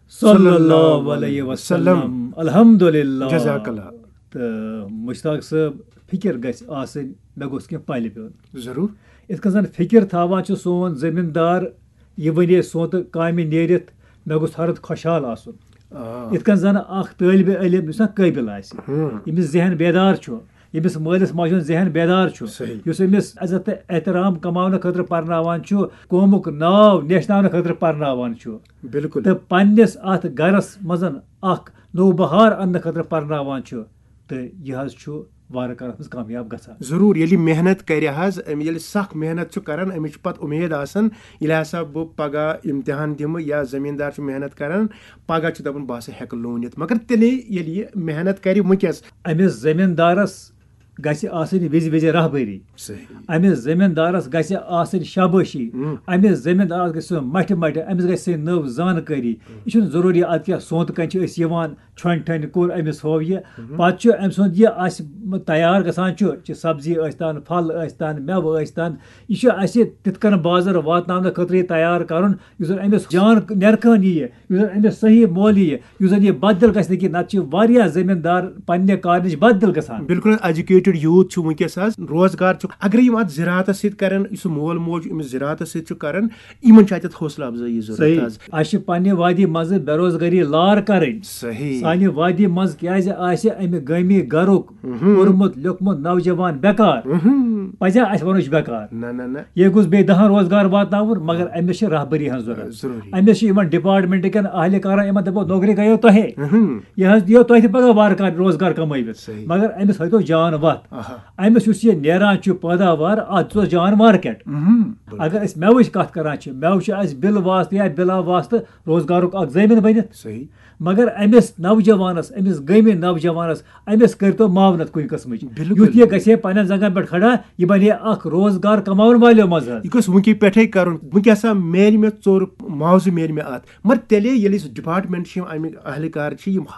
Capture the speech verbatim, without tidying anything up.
صلی اللہ علیہ وسلم۔ الحمدللہ۔ جزاک اللہ۔ تہٕ مشتاق صٲب، فکر گژھِ آسٕنۍ، مےٚ گوٚژھ کینٛہہ پلہِ پیوٚن۔ ضروٗر۔ یِتھ کٔنۍ زن فکر تھاوان چھُ سون زٔمیٖندار، یہِ وَنہِ سونتہٕ کامہِ نیرِتھ، مےٚ گوٚژھ ہرد خۄشحال آسُن۔ آ۔ یِتھ کٔنۍ زن اکھ طٲلبِ علم یُس نہ قٲبِل آسہِ، ہُم۔ ییٚمِس ذہن بیدار چھُ، ییٚمِس مٲلِس ماجہِ ہُنٛد ذہن بیدار چھُ، صحیح۔ یُس أمِس عزت تہٕ احترام کماونہٕ خٲطرٕ پرناوان چھُ، قومُک ناو نیشناونہٕ خٲطرٕ پرناوان چھُ، بِلکُل۔ تہٕ پننِس اتھ گرس منٛز اکھ نوٚو بہار اننہٕ خٲطرٕ پرناوان چھُ، تہٕ یہِ حظ چھُ وارٕ کارس منٛز کامیاب گژھان۔ ضروٗر، ییٚلہِ محنت کرِ حظ، أمۍ ییٚلہِ سخ محنت چھُ کران، أمِس چھُ پتہٕ اُمید آسان، ییٚلہِ ہسا بہٕ پگاہ امتحان دِمہٕ یا زٔمیٖندار چھُ محنت کران، پگاہ چھُ دپان، بہٕ ہسا ہٮ۪کہٕ لوٗنِتھ۔ مگر تیٚلے ییٚلہِ یہِ محنت کرِ وٕنکیٚس۔ أمِس زٔمیٖندارس گژھِ آسٕنۍ وِزِ وِزِ رہبری۔ صحیح۔ أمِس زٔمیٖندارس گژھِ آسٕنۍ شابٲشی۔ ہم۔ أمِس زٔمیٖندارس گژھِ سُہ مٹھِ مٹھِ، أمِس گژھِ سُہ نٔو زانکٲری۔ یہِ چھُنہٕ ضروٗری ادٕ کیٛاہ سونتہٕ کنہِ چھِ أسۍ یِوان، چھۄنہِ ٹھۄنہِ کوٚر أمِس ہو یہِ۔ پتہٕ چھُ أمۍ سُنٛد یہِ اسہِ تیار گژھان چھُ، چھِ سبزی ٲسۍ تن، پھل ٲسۍ تن، مٮ۪وٕ ٲسۍ تن، یہِ چھُ اسہِ تِتھ کٔنۍ بازر واتناونہٕ خٲطرٕ یہِ تیار کرُن، یُس زن أمِس جان نرخان یِیہِ، یُس زن أمِس صحیح مول یِیہِ، یُس زن یہِ بددل گژھِ نہٕ کینٛہہ۔ نتہٕ چھِ واریاہ زٔمیٖندار پننہِ کارٕ نِش بددل گژھان۔ بِلکُل حظ، ایجوکیٹڈ یوٗتھ چھُ وٕنکیٚس حظ، روزگار چھُ، اگر یِم اتھ زِراعتس سۭتۍ کرن، یُس مول موج چھُ أمِس زِراعتس سۭتۍ چھُ کران، یِمن چھُ اتٮ۪تھ حوصلہٕ افزٲیی ضروٗرت صحیح۔ حظ۔ اسہِ چھِ پننہِ وادی منٛزٕ بے روزگٲری لار کرٕنۍ۔ صحیح۔ سانہِ وادی منٛز کیازِ آسہِ امہِ گٲمی گرُک پوٚرمُت لیوٚکھمُت نوجوان بیکار؟ اہم۔ پزیا اسہِ ونُن یہِ چھُ بیکار؟ نہ نہ نہ۔ یہِ گوٚژھ بیٚیہِ دہن روزگار واتناوُن، مگر أمِس چھِ رہبری ہٕنٛز ضروٗرت۔ ضروٗری۔ أمِس چھِ یِمن ڈپارٹمنٹ کٮ۪ن اہلہِ کارن، یِمن دپو نوکری گٔیو تۄہے۔ اہم۔ یہِ حظ دِیو تۄہہِ تہِ پگاہ وارٕ کارٕ روزگار کمٲوِتھ۔ صحیح۔ مگر أمِس ہٲیتو جان وتھ۔ آہا۔ أمِس یُس یہِ نیران چھُ پٲداوار، اتھ چھُ جان مارکیٹ۔ اہم۔ اگر أسۍ مٮ۪وٕچ کتھ کران چھِ، مٮ۪وٕ چھُ اسہِ بِل واسطہٕ یا بِلا واسطہٕ روزگارُک اکھ ضٲمِن بٔنِتھ۔ صحیح۔ مگر أمِس نوجوانس، أمِس گٲمہِ نوجوانس، أمِس کٔرۍتو معاونت کُنہِ قٕسمٕچ۔ بِلکُل۔ یُتھ یہِ گژھِ ہے پننٮ۪ن زنٛگن پٮ۪ٹھ کھڑا، یہِ بنہِ ہے اکھ روزگار کماون والیو منٛز حظ۔ یہِ گوٚژھ وٕنکہِ پٮ۪ٹھے کرُن۔ وٕنکہِ ہسا میلہِ مےٚ ژوٚر معاوضہٕ میلہِ مےٚ اتھ۔ مگر تیٚلے ییٚلہِ أسۍ ڈپارٹمنٹ چھِ، یِم اَمِکۍ اہلہِ کار چھِ، یِم